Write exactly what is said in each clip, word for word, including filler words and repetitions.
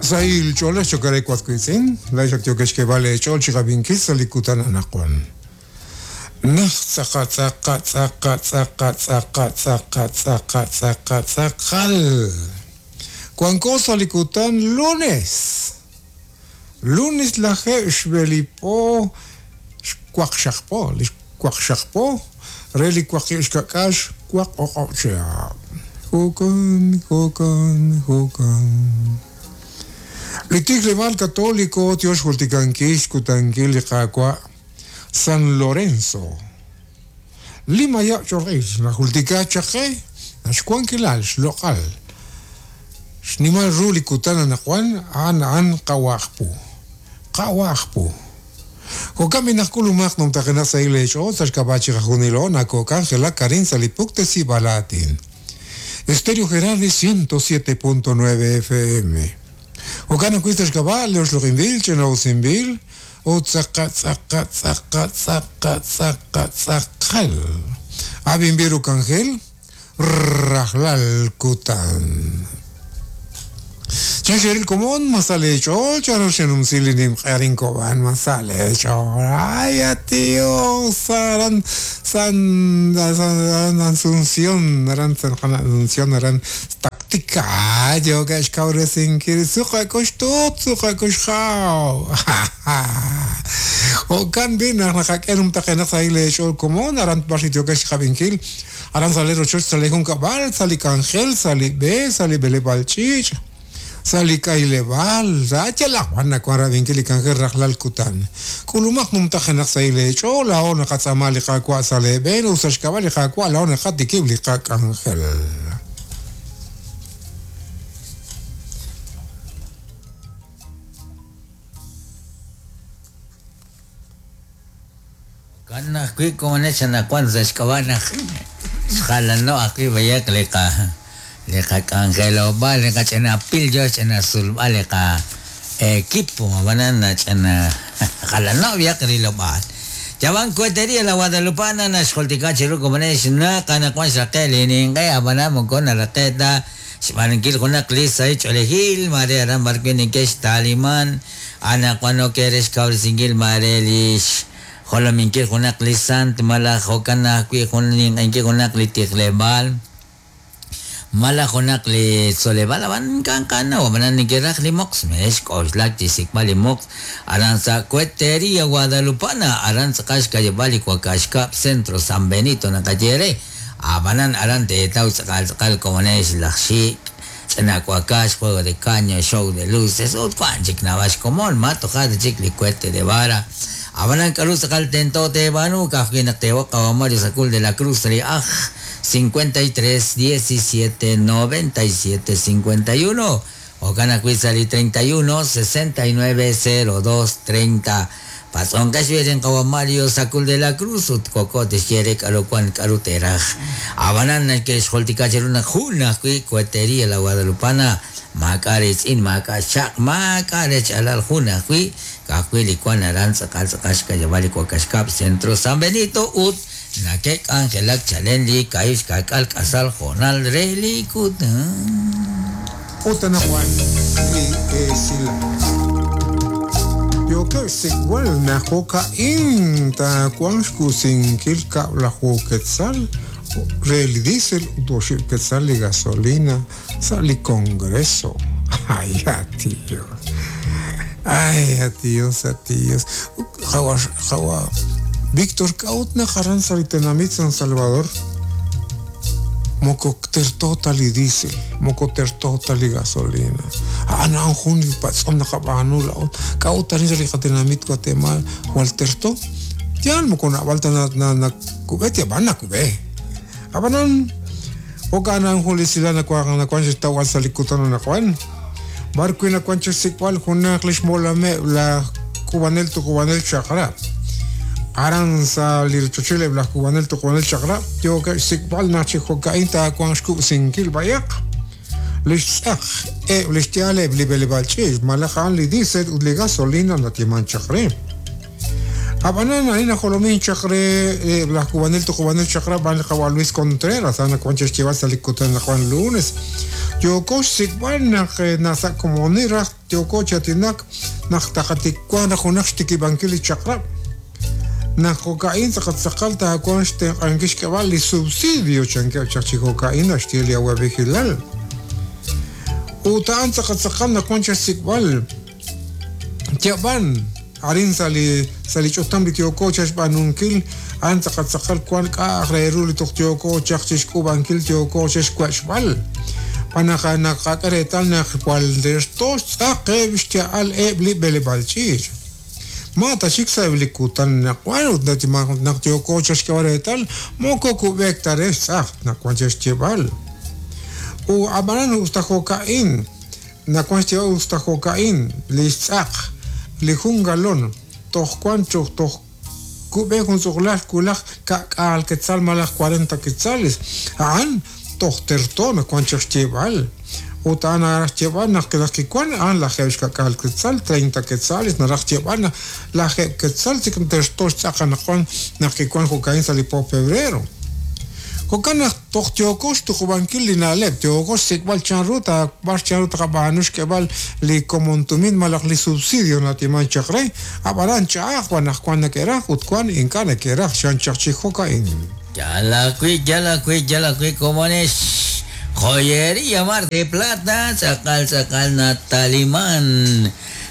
Sahil ch'oolej chokare kwatwitz'in, laixak tiokexkeb'al ch'ool chiqab'inkil sa li kutan anaqwan. Naj tz'aqa tz'aqa tz'aqa tz'aqa tz'aqa tz'aqa tz'aqa tz'aqa tz'aqal. Wanko sa li kutan lunes. Lunes lajeeb' xb'elipo xwaqxaqpo, li xwaqxaqpo re li waqib' xkak'ax waq oq'ob' chihab'. Jo'kan, jo'kan, jo'kan. Li tijleb'aal katoliko tiox jultikankil xkutankil li Qaawa' San Lorenzo. Lima ya chorq'il najultika chaqe naxwankilal xloq'al. Xnimal ru li kutan anaqwan a'an a'an qawajpu. Qawajpu. Jo'kan binajk'ulumaq numtajenaq sa' ileech'ool sa' xk'ab'a' chiqajunilo nakok'anjelak karin sa' li puktesib'al aatin. Estéreo Gerardi ciento siete punto nueve F M. Jo'kan ajwi' sa' xk'ab'a' leoxloq'inb'il ch'ina'usinb'il ut tz'aqa tz'aqa tz'aqa tz'aqa tz'aqa tz'aqal. Ab'inb'il ruk'anjel rajlal kutan. Chanxeril komon masalech'ool charo xenumsil li nimq'arin kob'an masalech'ool. Ay, tío, saran San San Asunción, aran San Asunción, aran táctica, yo que xkawresinkil suqakuxtut suqakuxjaw. Jo'kan b'i naq naqak'e numtaqenaq sa' ilech'ool komon aran tb'arxi yo que xqab'inkil aran sale rochoch sale junkab'al sa' li k'anjel sa' li b'e sa' li b'eleb'al ch'iich' sa' li k'ayleb'al sa' yalaq wan nawan rab'inkil li k'anjel rajlal kutan. K'ulumaq numtajenaq sa' ilech'ool laa'o naqatz'aama li Qaawa' sa' leeb'een ut sa' xk'ab'a' li Qaawa' laa'o naqatikib' li qak'anjel. Kan ajwi' komonech anaqwan sa' xk'ab'a' naq xjalano ajwi' b'ayaq li qa li qak'anjelob'al li qach'inapil yo ch'inasulb'al li qa equipo ab'anan ch'ina jalano b'ayaq rilob'al. Yawan Cuetería la Guadalupana naxjultika chiru komonech naq anaqwan xraqe' li ninq'e ab'anan moko naraqe' ta xb'aanunkil junaq li sahil ch'oolejil mare aran b'arwi' neke'x taliman anaqwan ok re xkawresinkil mare li jolominkil junaq li sant malaj jo'kan ajwi' jun ninq'enkil junaq li tijleb'al malaj junaq li tzoleb'al ab'an kanqana ab'anan neke'raj li moqs mex k'oxlak chi xsik'b'al li moqs aran sa' Cuetería Guadalupana aran tz'aqal xkayeb'al li Wakaxkab' Centro San Benito naqaye re ab'anan aran teetaw tz'aqal tz'aqal komonex laj xik' ch'ina wakax juego de caña show de luces ut wan chik naab'al xkomon ma toja' chik li cohete de vara ab'anan k'aru tz'aqal tento teeb'aanu ka'ajwi' naq teewoq qawa Mario Sacul de la Cruz li aj cincuenta y tres diecisiete noventa y siete cincuenta y uno jo'kan ajwi' sa' li treinta y uno sesenta y nueve cero dos treinta Patz'onqex b'irin qawa Mario Sacul de la Cruz ut koko tixye k'aru wan k'aru teraj ab'anan neke'xjultika chiru naq jun ajwi' Cuetería la Guadalupana maak'a' ritz'in maak'a' xaq maak'a' rech'alal jun ajwi' ka'ajwi' li wan aran tz'aqal tz'aqal xkayeb'al li Wakaxkab' Centro San Benito ut nakek'anjelak chalen li ka'ib' xka'k'al k'asal jo'nal re li kutan. Ut anaqwan li esilal. Yoke' xsik'b'al naq jo'ka'in taawanq xkusinkil kab'laju quetzal re li diésel ut oxib' quetzal li gasolina sa' li Congreso. Ay, tío. Ay, tíos, tíos. Jawa, jawa. Víctor Kaut naqaran sa' li tenamit San Salvador. Moko tertota li diésel, moko tertota li gasolina. Ana jun li patz'om naqab'aanu la'ot. Kaut arin sa' li qatenamit Guatemala, wal terto. Yan moko nab'alta na na na kub'e tiab'an nakub'e. Ab'anan jo'kan jun li silal nakuan nakuan xtawal sa' li kutan nakuan. Barkwi nakuan xsik'b'al junaq li xmolameb' la kubanel tu kubanel chaqrab'. Aran sa' li rochochileb' laj kubanel tu kubanel chaqrab' yookeb' xsik'b'al naq chi jo'ka'in taawanq xkub'sinkil b'ayaq. Li xtz'aq eb' li xyaaleb' li b'eleb'al ch'iich' malaj a'an li diésel ut li gasolina natieman chaq re. Ab'anan arin najolomin chaq re laj k'uub'anel tuqub'anel chaq'rab' b'an li qawa' Luis Contreras a'an nawan chaq xyeeb'al sa' li kutan naqwan lunes yooko xsik'b'al naq nasa' komonil raj yooko chatinak naq taqatikwan raj junaq xtikib'ankil li chaq'rab' naq jo'ka'in tz'aqal taawan xtenq'ankil xk'eb'al li subsidio chankeb' chaq chi jo'ka'in naxye li awab'ejilal ut a'an tz'aqal nawan chaq xsik'b'al yab'an arin sa' li sa' li ch'utam li yooko chaq xb'aanunkil a'an tz'aqal tz'aqal wan k'a'aj re ru li toj yooko chaq chixk'uub'ankil yooko chaq xwech'b'al panaq naqak'e reetal naq jwal terto xtz'aqeb' xya'al eb' li b'eleb'aal ch'iich' ma ta chik sa' eb' li kutan naqwan ut naq yooko chaq xk'eb'al reetal moko kub'ek ta re xtz'aq naq wan chaq xyeb'al u ab'anan usta jo'ka'in nawan xyeb'al usta jo'ka'in li xtz'aq li jun galón toj wan choj toj kub'e jun tz'uqlaj kulaj ka'k'aal quetzal malaj cuarenta quetzales a'an toj terto nawan chaq xyeb'al ut a'an naraj xyeb'al naq naq kiwan a'an lajeeb' xka'k'aal quetzal treinta quetzales naraj xyeb'al naq lajeeb' quetzal chik terto xtz'aq anaqwan naq kiwan jo'ka'in sa' li po febrero jo'kan naq toj yooko xtuqub'ankil li na'leb' yooko xsik'b'al chanru ta b'ar chanru taqab'aanu xk'eb'al li komon tumin malaj li subsidio natiman chaq re ab'anan ch'a'aj wan naq wan neke'raj ut wan ink'a' neke'raj xan chaq chi jo'ka'in Yala wi, yala wi, yala wi, komonex Joyería Mar de Plata, tz'aqal tz'aqal nataliman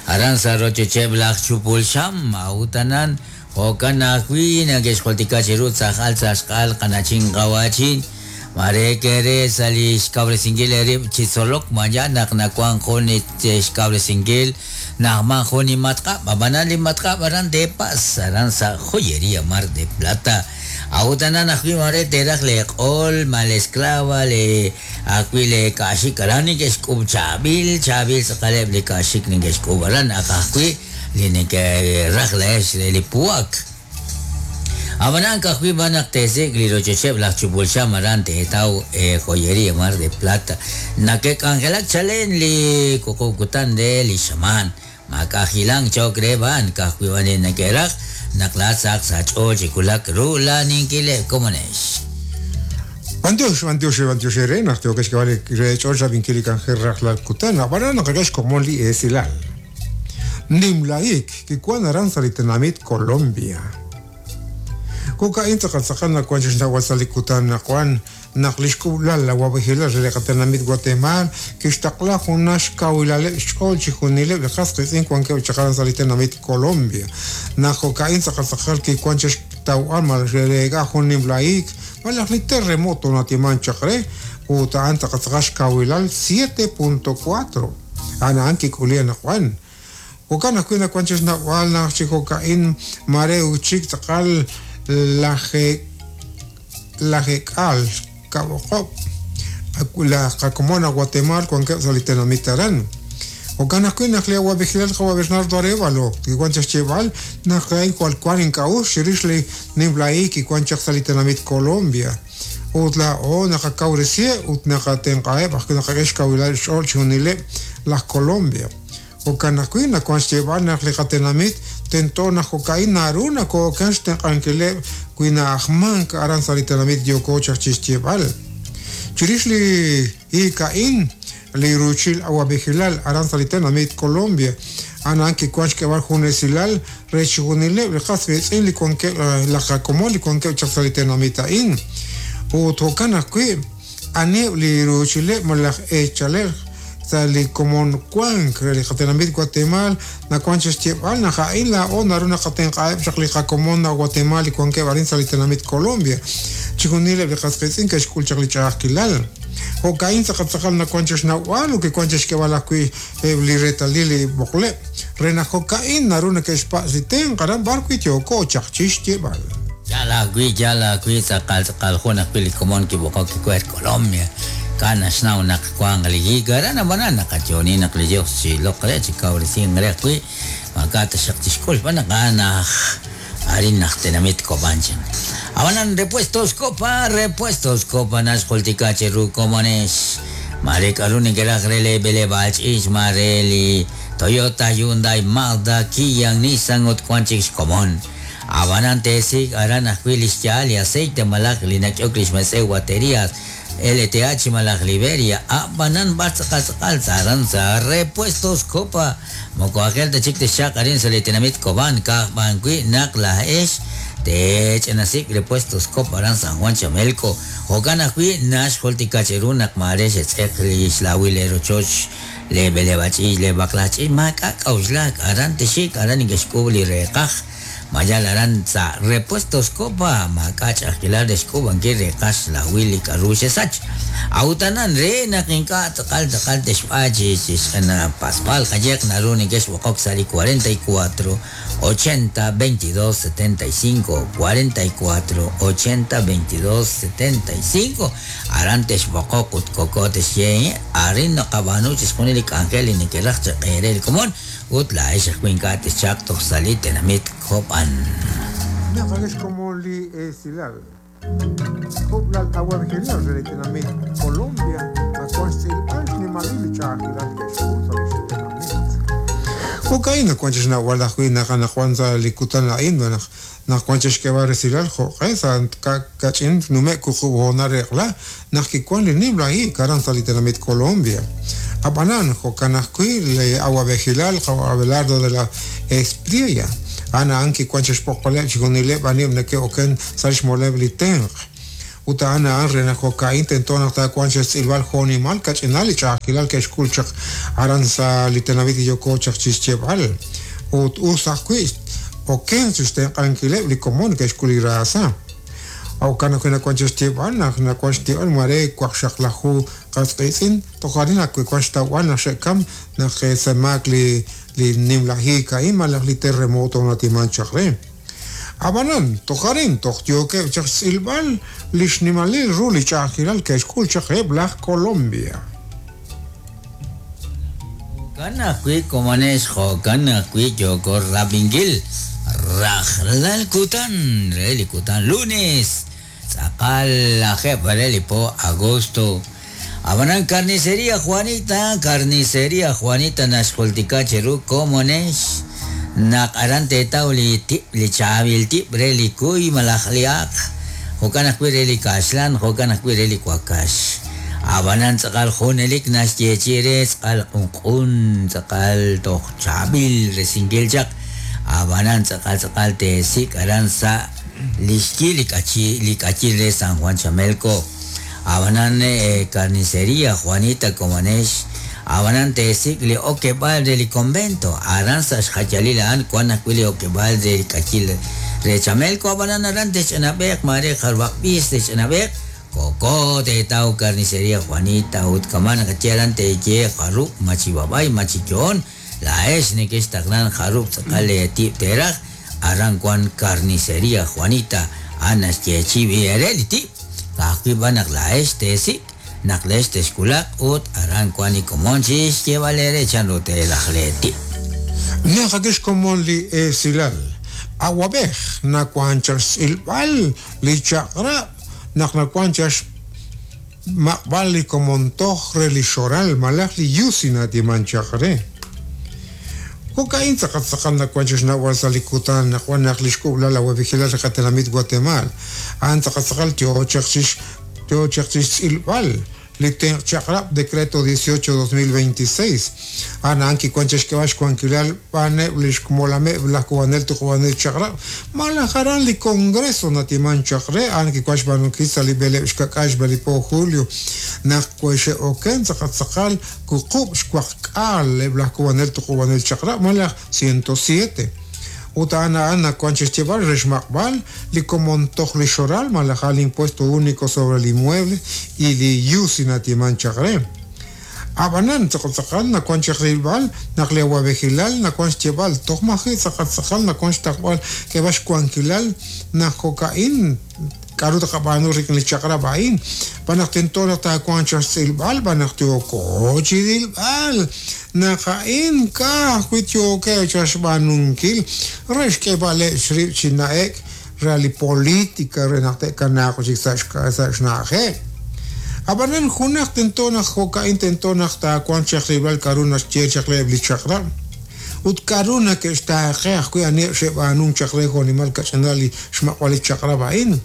aran sa' rochocheb' laj Chupulxam a'utanan jo'kan ajwi' nake'xjultika chiru tz'aqal tz'axq'al qanachin qawachin mare kere sa' li xkawresinkil erib' chi tzolok maya naq nawan jun xkawresinkil naqman jun li matq'ab' ab'anan li matq'ab' aran de Paz aran sa' Joyería Mar de Plata a'utanan ajwi' mare teraj le q'ol ma le esclava le ajwi' le ka'xik aran neke'xk'ub' chaab'il chaab'il tz'aqaleb' li ka'xik neke'xk'ub' aran ak ajwi' li neke'raj leex li puak ab'anan ka'ajwi' b'an naq teesik' li rochocheb' laj Chupulxam aran teetaw Joyería Mar de Plata nake'k'anjelak chalen li wuqub' kutan re li xamaan mak'ajilan chok re b'an ka'ajwi' b'an li neke'raj naq laat saq sa' ch'ool chi kulak ru laninkileb' komonex Bantiox, bantiox, bantiox ere, naq yooko xk'eb'al re ch'ool xab'inkil li k'anjel rajlal kutan ab'anan naqak'e xkomon li esilal nimlaik kiwan aran sa' li tenamit Colombia jo'ka'in tz'aqal tz'aqal nawan chaq xnawal sa' li kutan naqwan naq li xk'ub'lal awab'ejilal re li qatenamit Guatemala kixtaqla junaq xkawilaleb' xch'ool chi junileb' li qas qitz'in wankeb' chaq aran sa' li tenamit Colombia naq jo'ka'in tz'aqal tz'aqal kiwan chaq xtawb'al malaj rereek'a jun nimlaik malaj li terremoto natiman chaq re ut a'an tz'aqal tz'aqal xkawilal siete punto cuatro a'an a'an kik'uli anaqwan jo'kan ajwi' nawan chaq xnawb'al naq chi jo'ka'in mare uchik tz'aqal laje lajek'al ka'oqob' la qakomon a Guatemala wankeb' sa' li tenamit aran jo'kan ajwi' naq li awab'ejilal qawa' Bernardo Arévalo kiwan chaq xyeb'al naq a'in jwal wan ink'a'uxl chirix li nimlaik kiwan chaq sa' li tenamit Colombia ut laa'o naqakawresiheb' ut naqatenq'aheb' ajwi' naqak'e xkawilal xch'ool chi junileb' laj Colombia jo'kan ajwi' nawan xyeb'al naq li qatenamit tento naq jo'ka'in naru nakookan xtenq'ankileb' wi na'ajmank aran sa' li tenamit yooko chaq chi xyeb'al chirix li ika'in li ruuchil awab'ejilal aran sa' li tenamit Colombia a'an kiwan xk'eb'al jun esilal re chi junileb' li qas riitz'in li wankeb' laj qakomon li wankeb' chaq sa' li tenamit a'in ut jo'kan ajwi' aneb' li ruuchileb' malaj eechalej sa' li komon wank re li qatenamit Guatemala nawan chaq xyeb'al naq a'in laa'o naru naqatenq'aheb' chaq li qakomon a Guatemala li wankeb' arin sa' li tenamit Colombia chi junileb' li qas qiitz'in ke'xk'ul chaq li ch'a'ajkilal jo'ka'in tz'aqal tz'aqal nawan chaq xnawb'al ut kiwan chaq xk'eb'al ajwi' eb' li reetalil li b'oqleb' re naq jo'ka'in naru neke'xpatz' li tenq' aran b'ar wi' yooko chaq chi xyeb'al Yala wi, yala wi, tz'aqal tz'aqal jun ajwi' li komon kib'oqok kikuer Colombia kana xnaw naq wan li hiik aran ab'anan naqayoni naq li Dios chi loq re chi kawresin re ajwi' maak'a' taxaq tixk'ul b'an naq a'an aj arin naq tenamit Kobanchan ab'anan Repuestos Copa Repuestos Copa naxjultika chiru komonex mare k'aru neke'raj re le b'eleb'aal ch'iich mare li Toyota, Hyundai, Mazda, Kia, Nissan ut wan chik xkomon Ab'anan teesik aran ajwi' li xyaal li aceite malaj li nak'ok li xmetz'ew baterías L T H malaj Liberia ab'anan b'ar tz'aqal tz'aqal aran sa Repuestos Copa moko ajel ta chik tixchaq arin sa li tenamit Cobán kaj b'an wi' naq laj tech'enasik Repuestos Copa aran San Juan Chamelco jo'kan ajwi' naxjultika cheru naq mare xetz'eq li xlawil le rochoch le b'eleb'ach'iich le b'aqlach'iich maak'a' k'auxlak aran tixik aran inkexk'ub' li reqaj mayal aran sa Repuestos Copa maak'a' ch'ajkilal rexk'ub'ankil reqaj xlawil li k'aru xesach awtanan re naq ink'a' tz'aqal tz'aqal texb'a chi xch'ana paspal qayeq naru ninkexb'oqok sa li cuarenta y cuatro ochenta veintidós setenta y cinco cuarenta y cuatro ochenta veintidós setenta y cinco aran texb'oqok ut koko texye arin naqab'aanu chixjunil li k'anjel li neke'raj chaq'eere li komon ut la'ex ajwi' ink'a' texchaq toj sa li tenamit Cobán. Naqakex komon li esilal Kub'lal awab'ejilal re li tenamit Colombia nakuan xtz'ilb'al xnimalil li ch'a'ajilal ke'xk'ul sa li xtenamit. Jo'ka'in nakuan chixnawal ajwi' naq anaqwan sa li kutan a'in naq nakuan chixk'eb'al resilal jo'q'e sa kach'in nume' wuqub' hoonal reqla naq kikuan li nimla hiik aran sa li tenamit Colombia. Ab'anan jo'kan ajwi' li awab'ejilal Abelardo de la Espriella ana an kikuan chixpoqoleb' chixjunileb' anib' neke'oken sa xmoleb' li tenq. Ut ana an re naq jo'ka'in tento naq taakuan xtz'ilb'al jo'nimal kach'inal li ch'a'ajkilal ke'xk'ul chaq aran sa li tenamit yoko chaq chixcheb'al. Ut us ajwi' oken chixtenq'ankileb' li komon ke'xk'ul li raasa. Jo'kan ajwi' nakuan chixcheb'al naq nakuan xtib'al mare waqxaqlaju qasq'itz'in toj arin ajwi' kuan xtawb'al naq xe'kam naq semaak li li nimla hiik a'in malaj li terremoto natiman chaq re. Ab'anan toj arin toj yookeb' chaq xtz'ilb'al li xnimalil ru li ch'a'ajkilal ke'xk'ul chaq eb' laj Colombia. Jo'kan ajwi' komonex jo'kan ajwi' yooko rab'inkil rajlal kutan re li kutan lunes tz'aqal lajeb' re li po agosto. Ab'anan Carnicería Juanita, Carnicería Juanita naxjultika cheru komonex naq aran teetaw li tib' li chaab'il tib' re li kuy malaj li aaq jo'kan ajwi' re li kaxlan jo'kan ajwi' re li wakax. Ab'anan tz'aqal junelik naxyeechi re tz'aqal q'unq'un tz'aqal toj chaab'il resinkil chaq ab'anan tz'aqal tz'aqal teesik aran sa li xyi li k'achi li k'achil re San Juan Chamelco. Ab'anan eh, Carnicería Juanita komonex ab'anan teesik li okeb'al re li convento aran sa xjachalil a'an kuan ajwi' li okeb'al re li k'achil re Chamelco ab'anan aran texch'anab'eq mare jarwaq b'is texch'anab'eq koko teetaw Carnicería Juanita ut kaman naqaye aran teeye jarub' machib'ab'ay machiyoon la'ex nekextaqlan jarub' tz'aqal tib' teraj aran kuan Carnicería Juanita a'an naxyeechi ere li tib' ka'ajwi' b'an naq la'ex teesik naq le'ex texkulaq ut aran kuan li komon chixyeeb'al ere chanru teelaj le tib'. Naqakex komon li esilal awab'ej nakuan chaq xtz'ilb'al li chaq'rab' naq nakuan chaq xmaqb'al li komon toj re li xoral malaj li yusi natiman chaq re. Jo'ka'in tz'aqal tz'aqal nakuan chixnawal sa li kutan nakuan naq li xk'ub'lal awab'ejilal re qatenamit Guatemala a'an tz'aqal tz'aqal yoo chaq chix yoo chaq chixtz'ilb'al li tenq chaq'rab' decreto dieciocho dos mil veintiséis a'an kikuan chixk'eb'al xwankilal b'aneb' li xmolameb' laj kub'anel tuqub'anel chaq'rab' malaj aran li congreso natiman chaq re a'an kikuan xb'aanunkil sa li b'eleb' xkak'al xb'e li po julio naq kuexe'oken tz'aqal tz'aqal wuqub' xwaqk'al eb' laj kub'anel tuqub'anel chaq'rab' malaj ciento siete ut a'an a'an nakuan chixcheb'al re xmaqb'al li komon toj li xoral malaj al impuesto único sobre el inmueble y li yusi natiman chaq re. Ab'anan tz'aqal tz'aqal nakuan chaq rilb'al naq li awab'ejilal nakuan xcheb'al toj maji' tz'aqal tz'aqal nakuan xtaqb'al k'eb'al xwankilal naq jo'ka'in k'aru taqab'aanu rik'in li chaq'rab' a'in b'an naq tento naq taakuan chaq xtz'ilb'al b'an naq yooko chirilb'al naq a'in ka'ajwi' yookeb' chaq xb'aanunkil re xk'eb'aleb' xrib' chi na'ek re li política re naq te'kanaaq chik sa' xna'ajeb'. Ab'anan junaq tento naq jo'ka'in tento naq taakuan chaq rilb'al k'aru naxye chaq reheb' li chaq'rab' Ut k'aru nake'xtaaqe ajwi' aniheb' xe'b'aanunk chaq re jo'nimal kach'inal li xmaq'b'al li chaq'rab' a'in.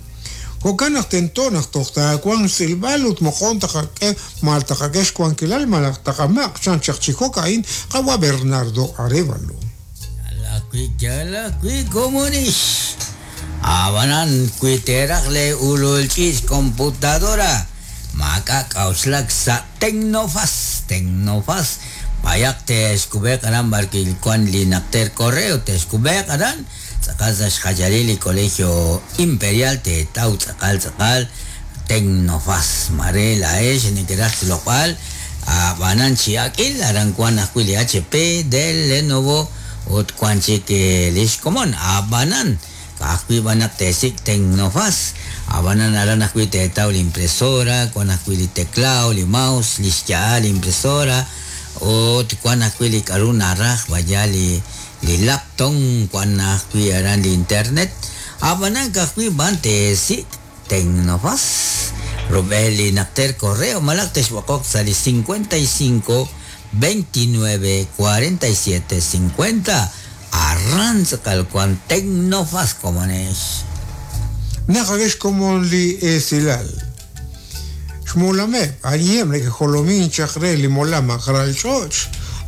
Jo'kan naq tento naq toj taawanq xtz'ilb'al ut moqon taqak'e mal taqak'e xwankilal malaj taqamaq' chan chaq chi jo'ka'in qawa Bernardo Arévalo. Yalakwi yalakwi komonix. Abanan kuiteraj le ululch'ich computadora. Maka k'auxlak sa Tecnofaz, Tecnofaz. Bayak texkub'eq aran barkil kuan li naqter correo texkub'eq aran tz'aqal sa xjajalil li Colegio Imperial te taw tz'aqal tz'aqal Tecnofaz mare laex nekeraj xloq'al abanan chiak'il aran kuan ajwi' li H P del Lenovo ut kuan chik lix komon abanan ka'ajwi' b'anaq tesik Tecnofaz abanan aran ajwi' te taw li impresora kuan ajwi' li teclado li mouse li xya'al li impresora ut kuan ajwi' li k'aru naraj vaya li li laptop kuan ajwi' aran li internet abanan ka'ajwi' b'an tesik Tecnofaz rub'el li naqter correo malaj texb'oqoq sa li cincuenta y cinco veintinueve cuarenta y siete cincuenta arran tz'aqal kuan Tecnofaz komonex. Naqakex komon li esilal. Xmolameb' aniheb' nekejolomin chaq re li molam aqralch'och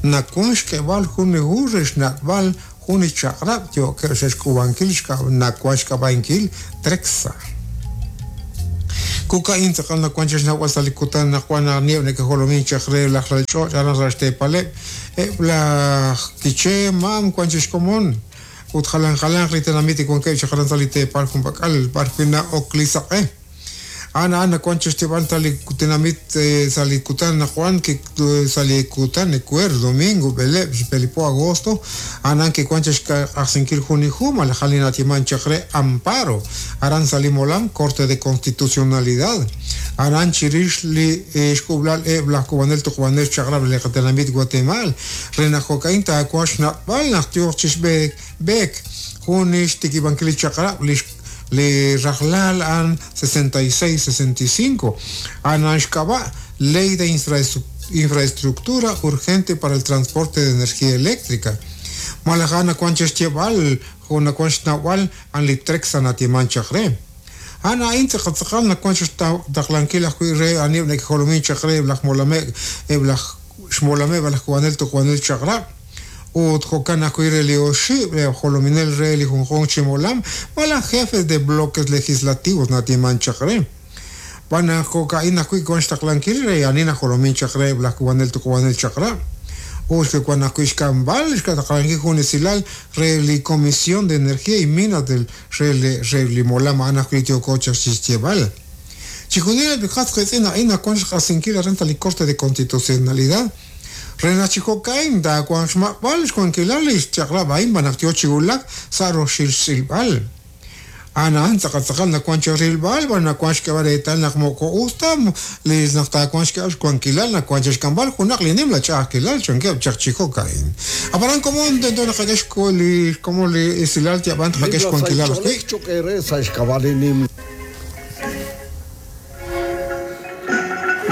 nakuan xk'eb'al jun li hu re xnaq'b'al jun li chaq'rab' yo'keb' xe'xk'ub'ankil nakuan xk'ab'ankil Trexa. Kuka'in tz'aqal nakuan chexnawb'al sa li kutan nakuan aniheb' nekejolomin chaq re laj ralch'och aran raxteepaleb' eb' laj Quiché mam kuan chexkomon ut jalan jalan li tenamit kuankeb' chaq aran sa li teepal junpak'al b'arwi' na'ok li saq'e. Ana ana kuan chextib'al sa li tenamit sa li kutan nakuan ki sa li kutan ekuer domingo b'eleb' xpelipo agosto anan ki kuan chexq'ajsinkil jun li hu malaj li natiman chaq re amparo aran sa li molam Corte de Constitucionalidad aran chirix li xk'ub'lal eb' laj kub'anel tuqb'anel chaq'rab' li qatenamit Guatemala re naq jo'ka'in taakuan xnaq'b'al naq tioq chixb'eek b'eek jun li xtikib'ankil li chaq'rab' li li rajlal an sesenta y seis sesenta y cinco anan xk'ab'a Ley de Infraestructura Urgente para el Transporte de Energía Eléctrica malaj ana kuan chexyeb'al jun nakuan xnawb'al an li Trexa natiman chaq re ana a'in tz'aqal nakuan xtaqlankil ajwi' re aniheb' nekejolomin chaq re eb' laj molameb' eb' laj xmolameb' laj kub'anel tuqb'anel chaq'rab' ut jo'kan ajwi' re li oxib' re jolominel re li junjunq chi molam malaj jefes de bloques legislativos natiman chaq re b'an jo'ka'in ajwi' kuan xtaqlankil re ani najolomin chaq re eb' laj kub'anel tuqb'anel chaq'rab' ut kuan ajwi' xk'amb'al xtaqlankil jun esilal re li Comisión de Energía y Minas del re li re li molam a'an ajwi' tioko chaq xyeb'al chijunil li qatz qitz'in a'in nakuan xq'ajsinkil aran sa li Corte de Constitucionalidad re naq chi jo'ka'in taakuan xmaq'b'al xwankilal li xchaq'rab' a'in b'an naq tio chiwulak sa roxil xtz'ilb'al ana a'an tz'aqal tz'aqal nakuan chixrilb'al b'an nakuan xk'eb'al reetal naq moko us ta li naq taakuan xk'eb'al xwankilal nakuan chixk'amb'al junaq li nim la ch'a'ajkilal chankeb' chaq chi jo'ka'in aparan komon tento naqak'e li como li esilal tiab'an taqak'e xwankilal ajwi'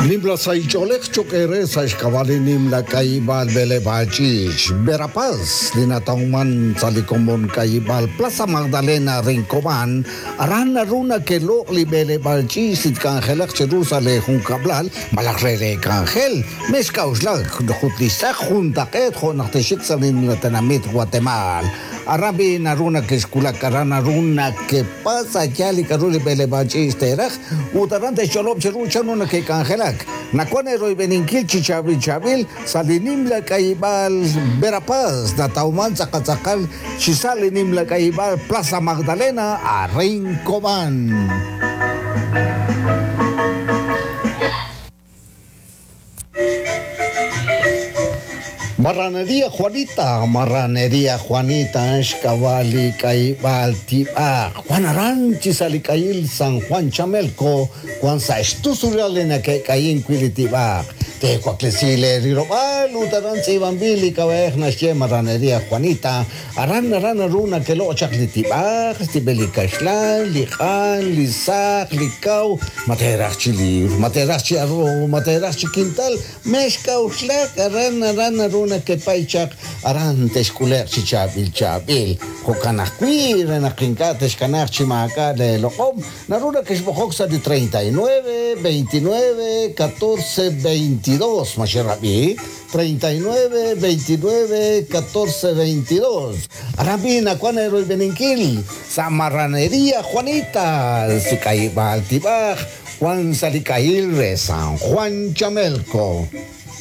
Nimla saich'olej choq' sa xk'ab'a' nimla k'ayib'al b'eleb'ach'ich Verapaz li natawman sa li komon k'ayib'al Plaza Magdalena Rincobán aran naru nakeloq' li b'eleb'ach'ich li tk'anjelaq chiru sa li junkab'lal malaj re re k'anjel mex k'a'uxlak jut li xtz'aq juntaq'eet jo' naq texik sa li nimla tenamit Guatemala aran b'i naru nakexkulak aran naru nakepasa ya li k'aru li b'eleb'ach'ich teraj ut aran texch'olob' chiru chan ru nakek'anjelak Nakuan eroyb'eninkil chi chaab'il chaab'il sa li nimla k'ayib'al Verapaz natawman tz'aqal chi sa li nimla k'ayib'al Plaza Magdalena a Rincobán. Marranería Juanita, Marranería Juanita, Xkabali, Kaibal, Tiba, Juan Aranchi, Salikayil, San Juan Chamelco, Juan Saestusurialena, Kayin, Quilitiba, Tewaklesi le rilob'aal ut aran tz'iib'anb'il li k'ab'a'ej naxye Marraneria Juanita. Aran aran naru nakelo' chaq li tib'aj, tib'el li kaxlan, li q'an, li saq, li kaw, materaj chi libr, materaj chi arroz, materaj chi quintal, mex kawxlak aran aran naru nakepay chaq aran texk'uleq chi chaab'il chaab'il. Jo'kan ajwi' re naq ink'a' texkanaj chi maak'a' le loq'om, naru nakexb'oqok sa' li treinta y nueve, veintinueve, catorce, veintidós, maxerab'i, treinta y nueve, veintinueve, catorce, veintidós. Aran nakuan eroybeninkil, sa Marraneria Juanita, sik'ayib'al tib'aj, Juan Salicail re San Juan Chamelco.